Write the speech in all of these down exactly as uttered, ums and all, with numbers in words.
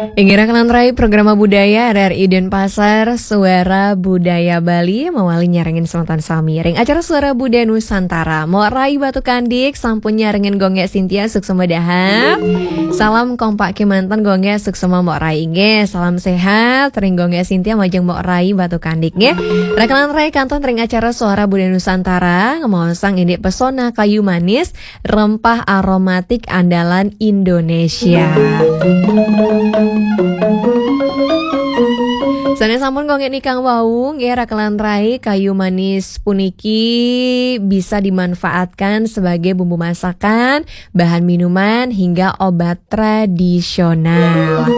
Inggih raka lan rai, Programa Budaya R R I Denpasar, Suara Budaya Bali, mawali nyarengin semeton sami ring acara Suara Budaya Nusantara. Mok Rai Batu Kandik sampun nyarengin Gung Gek Sintia, suksma dahar. Salam kompak kemanten Gung Gek, suksma Mok Rai nggih. Salam sehat ring Gung Gek Sintia majeng Mok Rai Batu Kandik nggih. Raka lan rai, kantun ring acara Suara Budaya Nusantara, ngemaosang indik pesona kayu manis, rempah aromatik andalan Indonesia. Sane sampun Gung Gek nikang wau nggih, raka lan rai, kayu manis puniki bisa dimanfaatkan sebagai bumbu masakan, bahan minuman, hingga obat tradisional.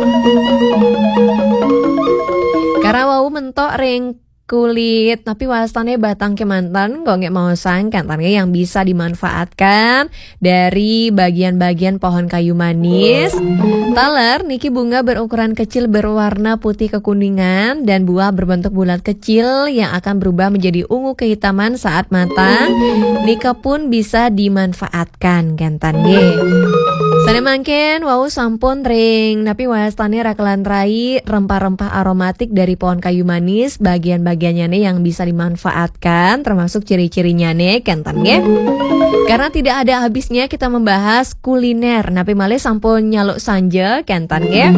Karena wau mentok ring kulit, tapi wastane batang kemanten, Gung Gek maosang kenten nggih, yang bisa dimanfaatkan dari bagian-bagian pohon kayu manis. Taler niki bunga berukuran kecil, berwarna putih kekuningan, dan buah berbentuk bulat kecil yang akan berubah menjadi ungu kehitaman saat matang. Nika pun bisa dimanfaatkan kenten nggih. Sane mangkin wau sampun ring napi wastane, raka lan rai, rempah-rempah aromatik dari pohon kayu manis, bagian-bagiannya nih yang bisa dimanfaatkan, termasuk ciri-cirinya nih kenten nggih. Karena tidak ada habisnya kita membahas kuliner, napi malih sampun nyaluk sanja kenten nggih.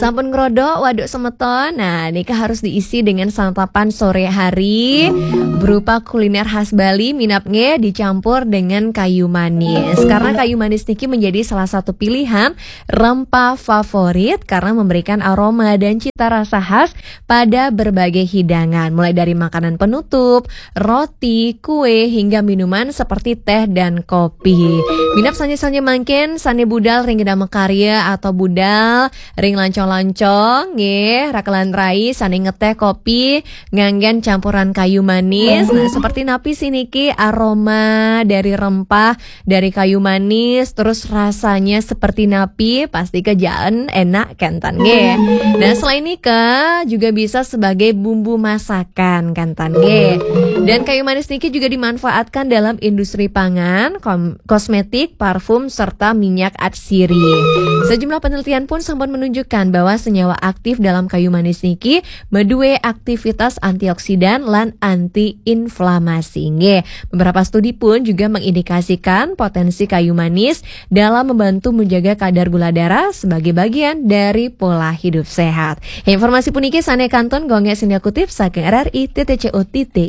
Sampun ngrodok waduk semeton. Nah, nika harus diisi dengan santapan sore hari berupa kuliner khas Bali, minab nggih dicampur dengan kayu manis. Karena kayu manis niki menjadi salah satu pilihan rempah favorit karena memberikan aroma dan cita rasa khas pada berbagai hidangan, mulai dari makanan penutup, roti, kue, hingga minuman seperti teh dan kopi. Minab sane-sane mangkin sane budal ring gedang makarya atau budal ring lancong-lancong nggih, raka lan rai, sane ngeteh kopi nganggen campuran kayu manis. Nah, seperti napi sih niki aroma dari rempah dari kayu manis, terus rasanya seperti napi, pasti kejaen enak kenten nggih. Nah, selain nika juga bisa sebagai bumbu masakan kenten nggih. Dan kayu manis niki juga dimanfaatkan dalam industri pangan, kom- kosmetik, parfum, serta minyak atsiri. Sejumlah penelitian pun sampun menunjukkan bahwa senyawa aktif dalam kayu manis niki madue aktivitas antioksidan lan antiinflamasi nggih. Beberapa studi pun juga mengindikasikan potensi kayu manis dalam membantu menjaga kadar gula darah sebagai bagian dari pola hidup sehat. Informasi puniki sane kantun Gung Gek Sintia kutip saking R R I titik C O titik